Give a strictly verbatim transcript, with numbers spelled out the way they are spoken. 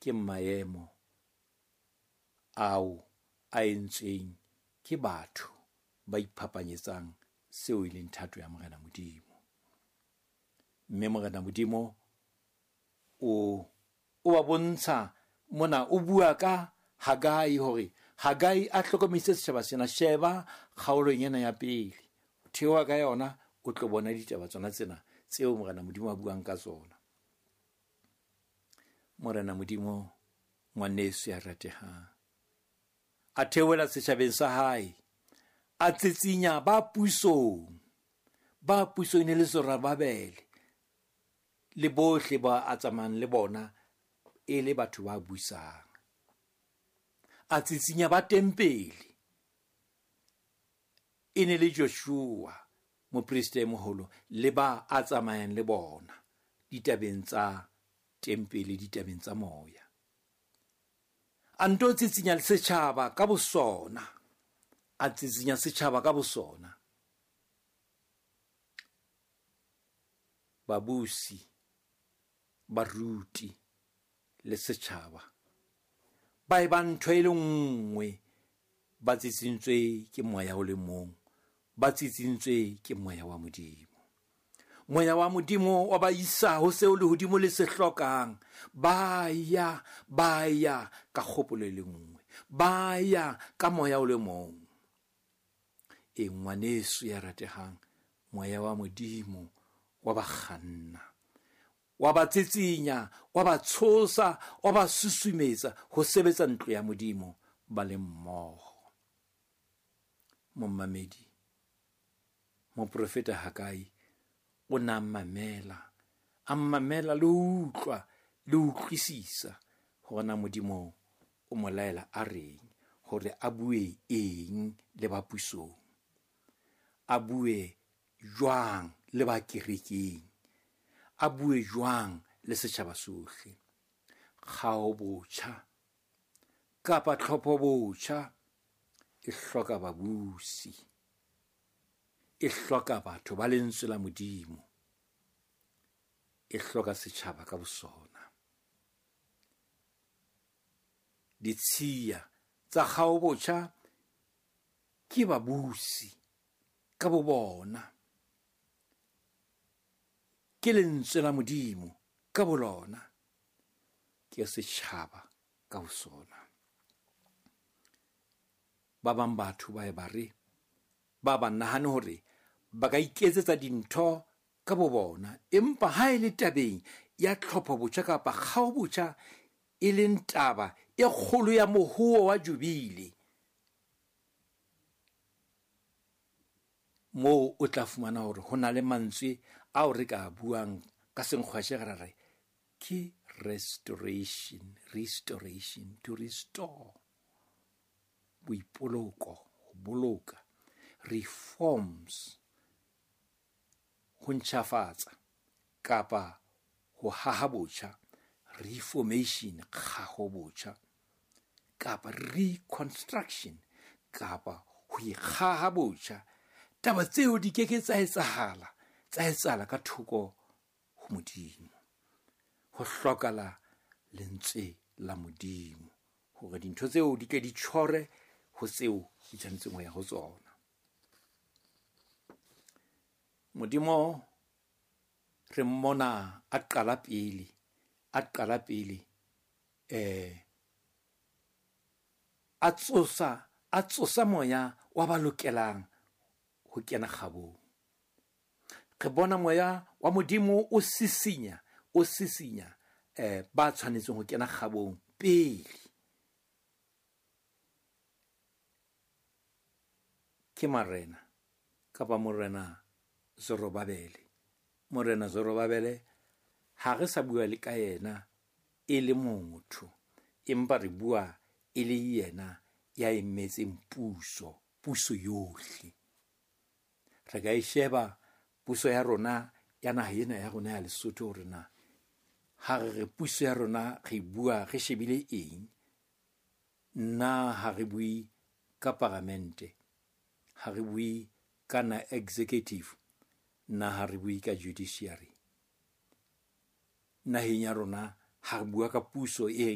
Ke maemo ao a entsweng ke batho ba iphapanyetsang seo e leng thato ya Morena Modimo. Mme Morena Modimo o o ba bontsha mona, o bua ka Hagai hore Hagai a hlokomedise setjhaba sena. Sheba kgaolong ena ya pele, o theoha ka yona, o tlo bona ditaba tsona tsena tseo Morena Modimo a buang ka tsona. Morena Modimo, ngwaneso ya ratehang, a theohela setjhabeng sa hae, a tsitsinya ba pusong, ba pusong e ne le Zorobabele le bohle ba a tsamayang le bona e le batho ba busang. A tsitsinya ba tempele e ne le Joshua moprista e moholo le ba a tsamayang le bona ditabeng tsa tempele, ditabeng tsa moya. A nto tsitsinya le setjhaba ka bosona, a tsitsinya setjhaba ka bosona. Babusi, baruti le setjhaba ba e ba ntho e le nngwe, ba tsitsintswe ke moya o le mong, ba tsitsintswe ke moya wa Modimo. Moya wa Modimo wa ba isa ho seo lehodimo le se hlokang. Ba ya, ba ya ka kgopolo e le nngwe, ba ya ka moya o le mong. E ngwaneso ya ratehang, moya wa Modimo wa ba kganna, wa ba tsitsinya, wa ba tshosa, wa ba susumetsa ho sebetsa ntlo ya Modimo ba le mmoho. Momamedi, moprofeta Hagai o na mamela, a mamela le ho utlwa le ho utlwisisa hore na Modimo o mo laela a reng, hore a bue eng le ba pusong, a bue jwang le ba kerekeng, a bue jwang le setjhaba sohle. Kgao botjha kapa tlhopho botjha e hloka babusi, e hloka batho ba lentswe la Modimo, e hloka setjhaba ka bosona. Ditshiya tsa kgao botjha ke babusi ka bo bona, ke lentswe la Modimo ka bolona, ke setjhaba ka bosona. Ba bang batho ba e ba re, ba ba nahane hore ba ka iketsetsa dintho ka bo bona, empa ha e le tabeng ya tlhopho botjha kapa kgao botjha, e leng taba e kgolo ya mohuo wa jubile, moo o tla fumana hore ho na le mantswe ao re ka buang ka senkgwashe re re ke restoration, restoration, to restore, boipoloko, ho boloka, reforms, ho ntjhafatsa kapa ho haha botjha, reformation, kgaho botjha, kapa reconstruction, kapa ho ikgaha botjha. Taba tseo di ke ke tsa etsahala, tsa etsahala ka thoko ho Modimo. Ho hlokala lentswe la Modimo hore dintho tseo di ke di tjhore ho tseo di tshwanetseng ho ya ho tsona. Modimo re mmona a qala pele, a qala pele, eh, a tsosa, a tsosa moya wa ba lokelang ho kena kgabong. Re bona moya wa Modimo o sisinya, o sisinya, eh, ba tshwanetseng ho kena kgabong pele. Ke marena kapa morena Zorobabele. Morena Zorobabele ha re sa bua le ka yena e le motho, empa re bua e le yena ya emetseng puso, puso yohle. Re ka e sheba puso ya rona ya naha ena ya rona ya Lesotho, hore na ha re re puso ya rona re bua re shebile eng. Na ha re bue ka paramente, ha re bue ka na executive, na ha re bue ka judiciary. Naheng ya rona ha re bua ka puso e